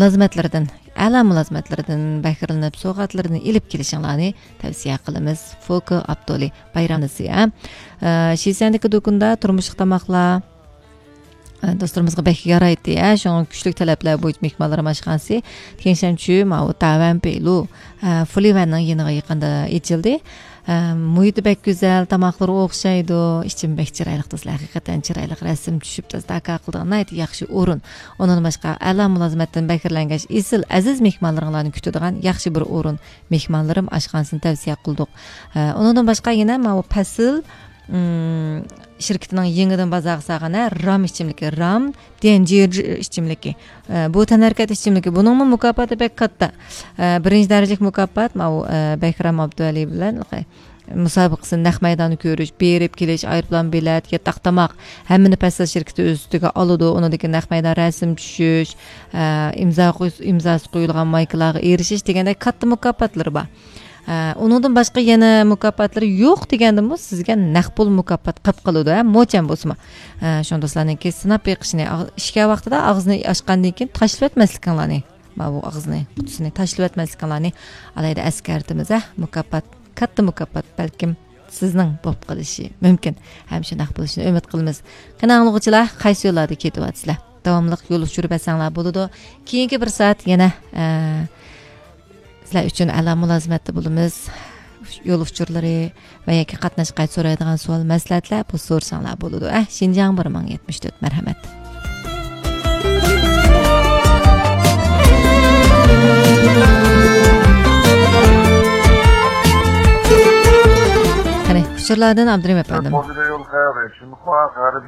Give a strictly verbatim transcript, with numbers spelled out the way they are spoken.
مۇلازىمەتلىرىدىن، ئەلا مۇلازىمەتلىرىدىن بەھرىلىنىپ، سوۋغاتلىرىنى ئېلىپ كېلىشىڭلارنى تەۋسىيە قىلىمىز. فوكو ئاپتولى بايرامنىسى، ھە. ئە، شىسەندىكى دۇكىنىدا تۇرمۇشلۇق تاماقلار، ئە، دوستلىرىمىزغا بەك يارايتتى، ھە. شۇڭا كۈچلۈك تەلەپلەر بويىچە مېھمانلىرىم ئاشخانىسى تيېنشەنچۈ ماۋۇ تاۋەنپېيلۇ، ئە، فۇلىۋەننىڭ يېنىغا يېقىندا ئېچىلدى. ئە، مۇھىتى بەك گۈزەل، تاماقلىرى ئوخشايدۇ. ئىچىمى بەك چىرايلىق دوستلار، ھەقىقەتەن چىرايلىق، رەسىم چۈشۈپ، تازا داكا قىلىدىغان ناھايىتى ياخشى ئورۇن. ئۇنىڭدىن باشقا، ئەلا مۇلازىمەتتىن بەھرىلەنگەچ، ئېسىل، ئەزىز مېھمانلىرىڭلارنى كۈتىدىغان ياخشى بىر ئورۇن. مېھمانلىرىم ئاشخانىسىنى تەۋسىيە قىلدۇق. ئە، ئۇنىڭدىن باشقا يەنە ماۋۇ پەسىل، ئىم، شىركىتىنىڭ يېڭىدىن بازارغا سالغان، ھە، رام ئىچىملىكى، رام ديەنجىر ئىچىملىكى. ئە، بۇ تەنھەرىكەت ئىچىملىكى. بۇنىڭمۇ مۇكاپاتى بەك كاتتا. ئە، بىرىنچى دەرىجىلىك مۇكاپات ماۋۇ، ئە، بەھرام ئابدۇۋەلى بىلەن مۇسابىقىسىنى، نەق مەيداننى كۆرۈش، بېرىپ كېلىش، ئايروپىلان بېلەت، ياتاق تاماق، ھەممىنى پەسىل شىركىتى ئۆز ئۈستىگە ئالىدۇ. ئۇنىڭدىن كېيىن نەق مەيدان رەسىم چۈشۈش، ئە، ئىمزا قويس-، ئىمزاسى قويۇلغان مايكىلارغا ئېرىشىش دېگەندەك كاتتا مۇكاپاتلىرى بار. ئە، ئۇنىڭدىن باشقا يەنە مۇكاپاتلىرى يوق دېگەندىمۇ سىزگە نەق پۇل مۇكاپات قىلىپ قالىدۇ، ھە، موچەن بولسىمۇ. ئە، شۇڭا دوستلارنىڭكى سىناپ بېقىشىنى، ئاغ-، ئىچكەن ۋاقتىدا ئاغزىنى ئاچقاندىن كېيىن تاشلىۋەتمەسلىكىڭلارنى، ماۋۇ ئاغزىنى، قۇتىسىنى تاشلىۋەتمەسلىكىڭلارنى ئالاھىدە ئەسكەرتىمىز، ھە. مۇكاپات، كاتتا مۇكاپات بەلكىم سىزنىڭ بولۇپ قېلىشى مۇمكىن. ھەم شۇنداق بولۇشىنى ئۈمىد قىلىمىز. قېنى ئاڭلىغۇچىلار، قايسى يوللاردا كېتىۋاتىسىلەر؟ داۋاملىق يول ئۇچۇرى بەرسەڭلار بولىدۇ. كېيىنكى بىر سائەت يەنە، ئە، سىلەر ئۈچۈن ئەلا مۇلازىمەتتە بولىمىز. يول ئۇچۇرلىرى ۋە ياكى قاتناش قايتا سورايدىغان سوئال، مەسلىھەتلەر بولسا سورىساڭلار بولىدۇ. ئە، شىنجاڭ بىر مىڭ يەتمىش تۆت، مەرھەمەت. قېنى، ئۇچۇرلاردىن ئابدۇرېھىم ئەپەندىم.